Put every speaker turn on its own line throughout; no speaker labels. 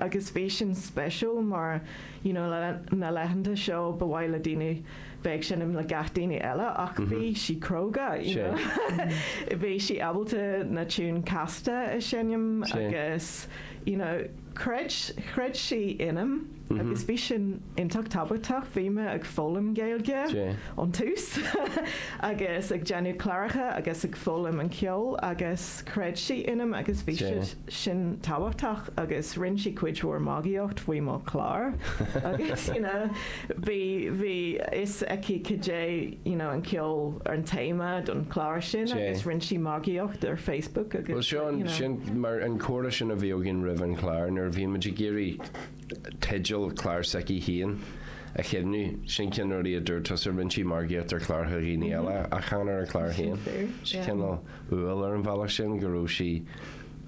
agus bhí sin speisiúil mar you know na laethanta seo ba mhaith le daoine bheith ag seinm le gach daoine eile ach bhí sí cróga you know bhí sí ábalta na tiún casta a seinm agus you know chreid chreid sí ionam agus bhí sin iontach tábhachtach. Bhí mé ag foghlaim Gaeilge ón tús agus ag déanamh cláracha agus ag foghlaim an ceol agus chreid sí ionam agus bhí sin tábhachtach agus rinne sí cuid mhór magaíocht faoi mo chlár agus you know bhí bhí fhios aici cad é you know an ceol ar an téama don chlár sin agus rinne sí magaíocht ar Facebook agus
Bhuel seo
you know.
sin mar an comhrá sin a bhí againn roimh an chlár nuair a bhí muid ag iarraidh teideal clár s'aici féin a chuimhniú. Sin ceann de na rudaí a dúirt tusa, rinne sí margaíocht ar chláracha dhaoine eile ach chan ar a clár féin.
Sin
Sin cineál umhal ar an bhealach sin go raibh sí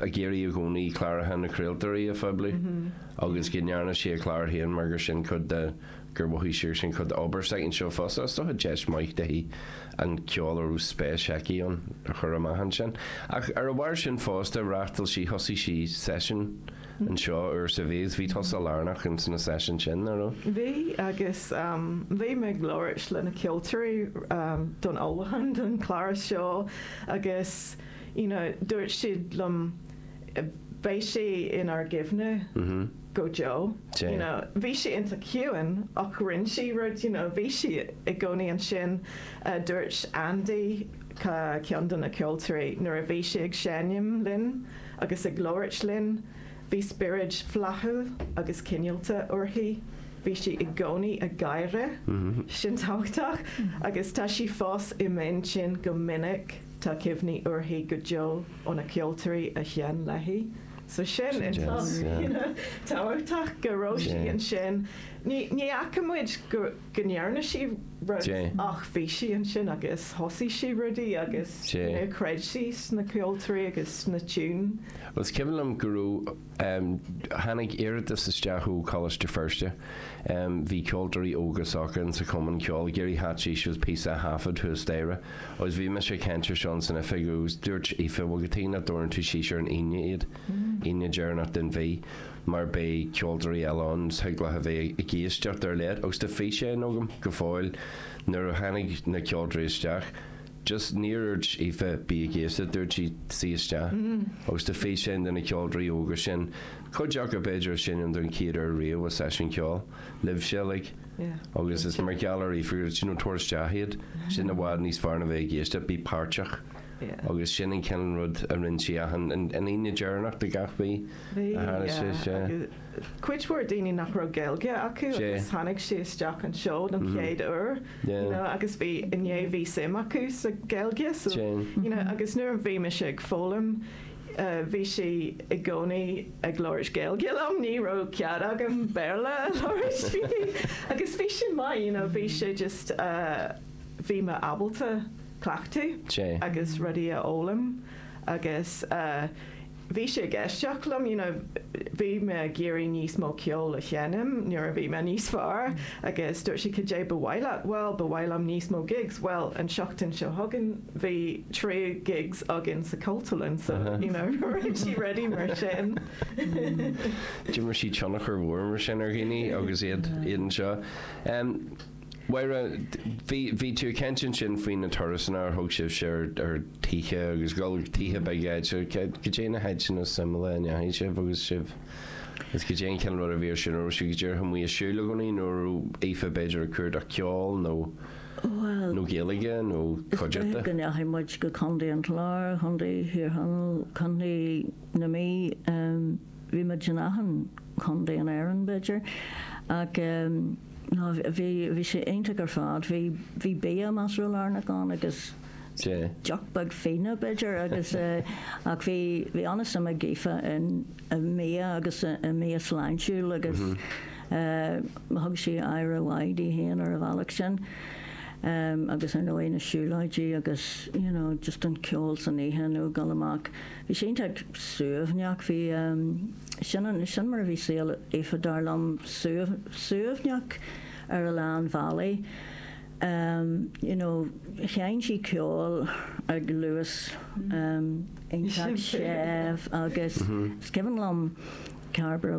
ag iarraidh i gcónaí cláracha na craoltóirí a phoibliú agus go ndearna sí a clár féin mar gur sin cuid de gur mhothaigh sí gur sin cuid d'obair s'aici anseo fosta. Is dócha deis maith di an ceol a raibh spéis aici ann a chur amach ansin. Ach ar a bharr sin fosta, reáchtáil sí, thosaigh sí seisiún anseo uair sa mhí agus bhí tusa lárnach ins na seisiúin sin, nach raibh?
Bhí agus bhí mé ag labhairt le na ceoltóirí don ullmhúchán don chlár seo agus you know dúirt siad liom beidh sí inár gcuimhne go deo you know bhí sí iontach ciúin ach rinne sí rud you know bhí sí i gcónaí ansin dúirt Andy ceann de na ceoltóirí nuair a bhí sí ag seinm linn agus ag labhairt linn. Bhí spiorad flaithiúil agus cineálta uirthi. Bhí sí i gcónaí ag gáire, sin tábhachtach, agus tá sí fós i m'intinn go minic, tá cuimhní uirthi go deo ó na ceoltóirí a sheinn léi. So sin iontach, you know, tábhachtach go raibh sí ansin. Ní fhaca muid go. go ndearna sí rud ach bhí sí ansin agus thosaigh sí rudaí agus you know chreid sí sna ceoltóirí agus sna tiúin.
Bhuel is cuimhin liom go raibh, tháinig iarratas isteach ó Choláiste Feirste, bhí ceoltóirí óga s'acu in sa chumann ceoil ag iarraidh theacht síos agus píosa a thaifead thuas staighre agus bhí mise ag caint ar seo san oifig agus dúirt Aoife, bhuel cad chuige nach dtabharann tú síos ar an Aoine iad, Aoine deireanach den mhí. mar beidh ceoltóirí eile ann is thig leo a bheith ag éisteacht ar leith agus tá físeán agam go fóill nuair a tháinig na ceoltóirí isteach just níor dhúirt Aoife bí ag éisteacht dúirt sí suigh isteach agus tá físeán de na ceoltóirí óga sin cuid acu b'fhéidir ag seinm don chéad uair riamh i seisiún ceoil libhse uilig agus is mar gheall ar Aoife gur you know tabhair isteach iad sin i bhfad níos fearr ná bheith ag éisteacht bí páirteach agus sin an cineál rud a rinne sí achan an Aoine deireanach de gach mhí.
Bhí,
a tharla sé, sea.
Agus cuid mhór daoine nach raibh Gaeilge acu agus tháinig siad isteach anseo don chéad uair, you know, agus bhí, inné bhí suim acu sa Ghaeilge, so, you know, agus nuair a bhí mise ag foghlaim, bhí sí i gcónaí ag labhairt Gaeilge liom, ní raibh cead agam Béarla a labhairt fiú, agus bhí sin maith, you know, bhí sé just, bhí mé ábalta cleachtadh agus rudaí a fhoghlaim agus. Bhí sé ag éisteacht liom, you know, bhí mé ag iarraidh níos mó ceoil a sheinm nuair a bhí mé níos fearr agus dúirt sí cad é ba mhaith leat? Bhuel, ba mhaith liom níos mó gigs. Bhuel, an seachtain seo chugainn bhí trí gigs againn sa Cultúrlann so, you know, rinne sí rudaí mar sin.
D'imir sí tionchar mhór mar sin ar dhaoine agus iad anseo. Mháire, bhí, bhí tú ag caint ansin faoi na turasanna ar thug sibhse ar, ar tithe agus dul go tithe beaga áite. Cad é na háiteanna suimiúla a ndeachaigh sibh agus sibh, agus cad é an cineál rud a bhí ar siúl, an raibh sibh go díreach amuigh ag siúl i gcónaí nó an raibh Aoife b'fhéidir ag cuardach ceoil nó,
Bhuel,
nó Gaeilge nó
is dóiche
cuideachta?
go ndeachaigh muid go Contae an Chláir, Contae Thír Chonaill, Contae na Mí, bhí muid in achan chontae in Éirinn b'fhéidir ach, No, bhí, bhí sé iontach ar fad. Bhí, bhí bia measartha lárnach ann agus deoch beag fíona b'fhéidir agus ach bhí, bhí an-suim ag Aoife in, i mbia agus i mbia sláintiúil agus thug sí aire mhaith di féin ar an bhealach sin. Agus ar ndóigh na siúlóidí agus you know just an ceol san oíche nó dul amach. Bhí sé iontach suaimhneach, bhí, sin an, sin mar a bhí saol Aoife dar liom, suaimhneach ar a lán bhealaí. You know, sheinn sí ceol ag luas iontach séimh agus is cuimhin liom Cairbre.